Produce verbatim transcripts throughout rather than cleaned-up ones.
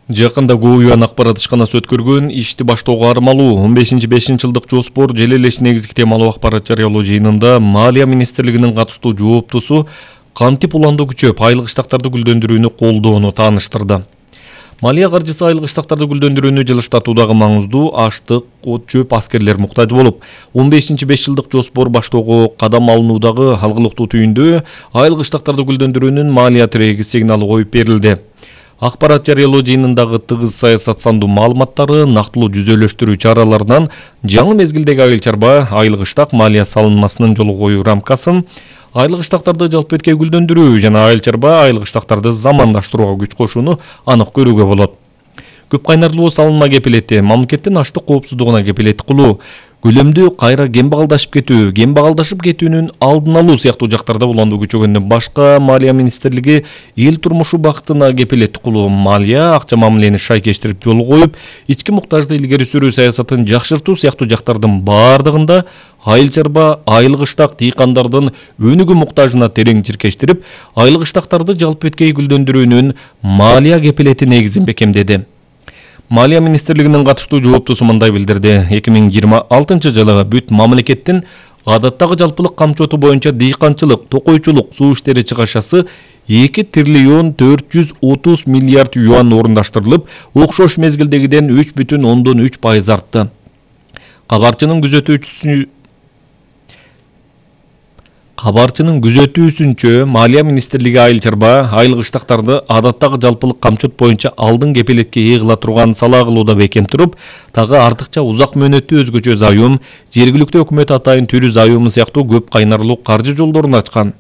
Жакында ГУЮАн акпарат ишканасы өткөргөн ишти баштоого армалуу он бешинчи бешинчи жылдык жоспор жел элеш негизги темалуу акпарат жарыялоо жыйынында Малия министрлигинин катыштуу жооптусу кантип уланды күчөп айлык иштактарды гүлдөндүрүүнү колдоону тааныштырды. Малия каржысы айлык иштактарды гүлдөндүрүүнү жылыштатуудагы маңыздуу аштык, от чөп, аскерлер муктаж болуп, он бешинчи беш жылдык жоспор баштоого кадам алынуудагы алгылыктуу түйүндө айлык иштактарды гүлдөндүрүүнүн малия тиреги сигналы коюп берилди. Акпарат жарыялоо жыйынындагы тыгыз саясат сандуу маалыматтары, нактылуу жүзөлөштүрүү чараларынан жаңы мезгилдеги айыл чарба айлык иштак малия салынмасынын жолго коюу рамкасын, айлык иштактарды жалпы эткей гүлдөндүрүү жана айыл чарба айлык иштактарды замандаштырууга күч кошууну анык көрүүгө болот. Көп кайнарлуу салынма кепилети мамлекеттин аштык коопсуздугуна кепилет кылуу, көлөмдүү кайра кембагалдашып кетүү, кембагалдашып кетүүнүн алдын алуу сыяктуу жактарда улануу күчөгөндөн башка Малия министрлиги эл турмушу бактына кепилет кылуу, малия акча мамилени шайкештирип жол коюп, ички муктажды илгери сүрүү саясатын жакшыртуу сыяктуу жактардын бардыгында айыл чарба айлык иштак дыйкандардын өнүгүү муктажына терең чиркештирип, айлык иштактарды жалпы эткей гүлдөндүрүүнүн малия кепилети негизин бекемдеди. Малия министрлигинин катыштуу жооптусу мындай билдирди. эки миң жыйырма алтынчы жылы бүт мамлекеттин адаттагы жалпылык камчоту боюнча дыйканчылык, токойчулук, суу иштери чыгашасы эки триллион төрт жүз отуз миллиард юан орундаштырылып, окшош мезгилдегиден үч бүтүн ондон үч пайыз артты. Кабарчынын күзөтүүчүсү Кабарчынын күзөтүүсүнчө Малия министрлиги айыл чарба айлык иштактарды адаттагы жалпылык камчот боюнча алдын кепилетке ээ кыла турган салаа кылууда бекем туруп, тагы артыкча узак мөөнөттүү өзгөчө зайым, жергиликтүү өкмөт атайын түрү зайымы сыяктуу көп кайнарлуу каржы жолдорун ачкан.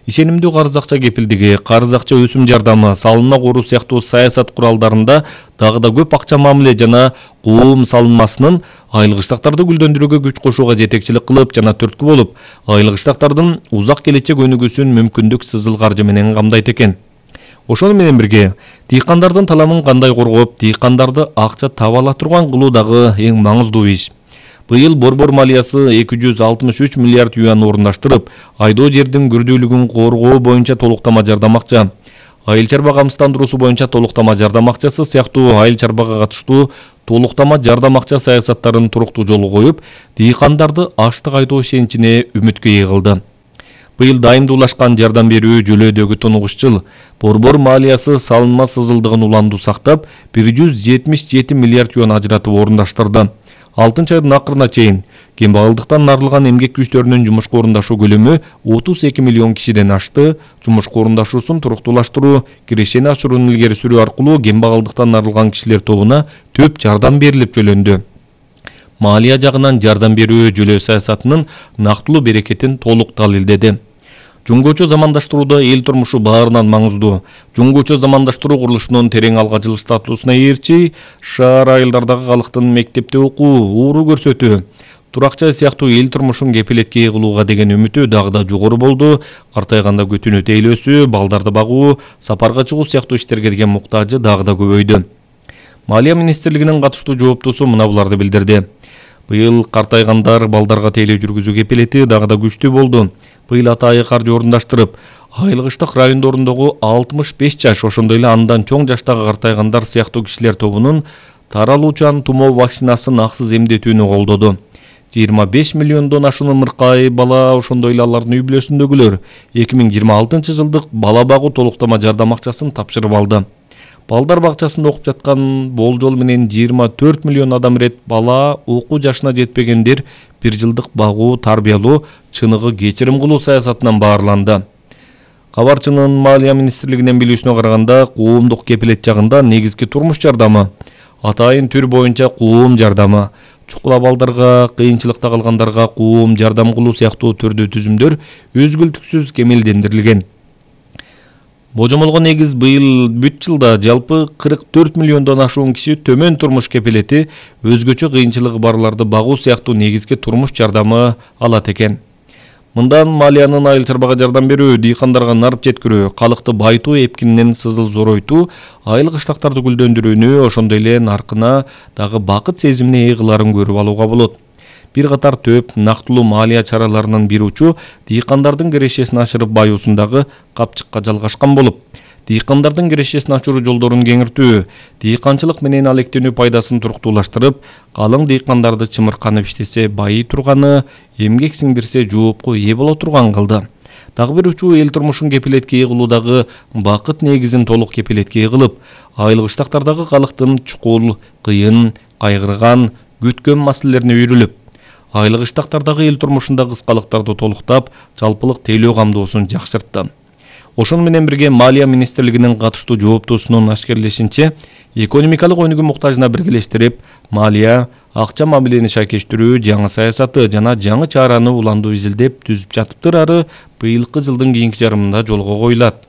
Ишенимдүү карыз акча кепилдиги, карыз акча өсүм жардамы, салынма коруу сыяктуу саясат куралдарында дагы да көп акча мамиле жана коом салынмасынын айлык иштактарды гүлдөндүрүүгө күч кошууга жетекчилик кылып жана түрткү болуп, айлык иштактардын узак келечек өнүгүүсүн мүмкүндүк сызыл каржы менен камдайт экен. Ошону менен бирге, дыйкандардын таламын кандай коргоп, дыйкандарды акча таба ала турган кылуу дагы эң маңыздуу иш. Быйыл борбор малиясы эки жүз алтымыш үч миллиард юан орундаштырып, айдоо жердин күрдүүлүгүн коргоо боюнча толуктама жардам акча, айыл чарба камсыздандыруусу боюнча толуктама жардам акчасы сыяктуу айыл чарбага катыштуу толуктама жардам акча саясаттарын туруктуу жолго коюп, дыйкандарды аштык айдоо ишеничине үмүткө ээ кылды. Быйыл дайымдуулашкан жардам берүү жөлөөдөгү тунугуш жыл борбор малиясы салынма сызылдыгын уландуу сактап, бир жүз жетимиш жети миллиард юан ажыратып орундаштырды. алтынчы айдын акырына чейин кембагалдыктан арылган эмгек күчтөрүнүн жумушка орундашуу көлөмү отуз эки миллион кишиден ашты. Жумушка орундашуусун туруктуулаштыруу, кирешени ашырууну илгери сүрүү аркылуу кембагалдыктан арылган кишилер тобуна төп жардам берилип жөлөндү. Малия жагынан жардам берүү жөлөө саясатынын нактылуу берекетин толук далилдеди. Жуңгучу замандаштырууда эл турмушу баарынан маңыздуу. Жуңгучу замандаштыруу курулушунун терең алга жылыштатуусуна ээрчи, шаар айылдардагы калктын мектепте окуу, ууру көрсөтүү, турак жай сыяктуу эл турмушун кепилетке ээ кылууга деген үмүтү дагы да жогору болду. Картайганда күтүүнү тейлөөсү, балдарды багуу, сапарга чыгуу сыяктуу иштерге деген муктажы дагы да көбөйдү. Малия министрлигинин катыштуу жооптусу мына буларды билдирди. Быйыл картайгандар балдарга тейлөө жүргүзүү кепилети дагы да күчтүү болду. Быйыл атайы каржы орундаштырып, айлык иштак райондорундогу алтымыш беш жаш, ошондой эле андан чоң жаштагы картайгандар сыяктуу кишилер тобунун таралуучан тумоо вакцинасын аксыз эмдетүүнү колдоду. жыйырма беш миллиондон ашуун ымыркай бала, ошондой эле алардын үй бүлөсүндөгүлөр эки миң жыйырма алтынчы жылдык бала багуу толуктама жардам акчасын тапшырып алды. Балдар бакчасында окуп жаткан болжол менен жыйырма төрт миллион адам ирет бала, окуу жашына жетпегендер бир жылдык багуу, тарбиялоо, чыныгы кечирим кылуу саясатынан баарланды. Кабарчынын Малия министрлигинин билүүсүнө караганда, коомдук кепилет жагында негизги турмуш жардамы, атайын түр боюнча коом жардамы, чукула балдарга, кыйынчылыкта калгандарга коом жардам кылуу сыяктуу түрдүү түзүмдөр өзгөлтүксүз кемелдендирилген. Божомолго негиз быйыл бүт жылда жалпы кырк төрт миллиондон ашуун киши төмөн турмуш кепилети, өзгөчө кыйынчылыгы барларды багуу сыяктуу негизги турмуш жардамы алат экен. Мындан малиянын айыл чарбага жардам берүү, дыйкандарга нарып жеткирүү, калыкты байытуу эпкининен сызыл зоройтуу, айлык иштактарды гүлдөндүрүүнү, ошондой эле наркына дагы бакыт сезимине ээ кыларын көрүп алууга болот. Бир катар төп нактылуу малия чараларынын бир учу дыйкандардын кирешесин ашырып баюусундагы капчыкка жалгашкан болуп, дыйкандардын кирешесин ачуу жолдорун кеңиртүү, дыйканчылык менен алектенүү пайдасын туруктуулаштырып, калың дыйкандарды чымырканып иштесе байый турганы, эмгек сиңдирсе жоопко ээ боло турган кылды. Дагы бир учуу эл турмушун кепилетке ийгилуудагы бакыт негизин толук кепилетке ийгилип, айыл кыштактардагы калктын чукул, кыйын, кайгырган, күткөн маселелерине үйрүлүп, айыл кыштактардагы эл турмушунда кыскалыктарды толуктап, жалпылык тейлөө камдоосун жакшыртты. Ошону менен бирге Малия министрлигинин катыштуу жооптуусунун ашкерлешинче, экономикалык өнүгүү муктажына биргелештирип, малия, акча мамилени шайкештирүү, жаңы саясаты жана жаңы чараны уландуу изилдеп түзүп жатыптыр ары быйылкы жылдын кийинки жарымында жолго коюлат.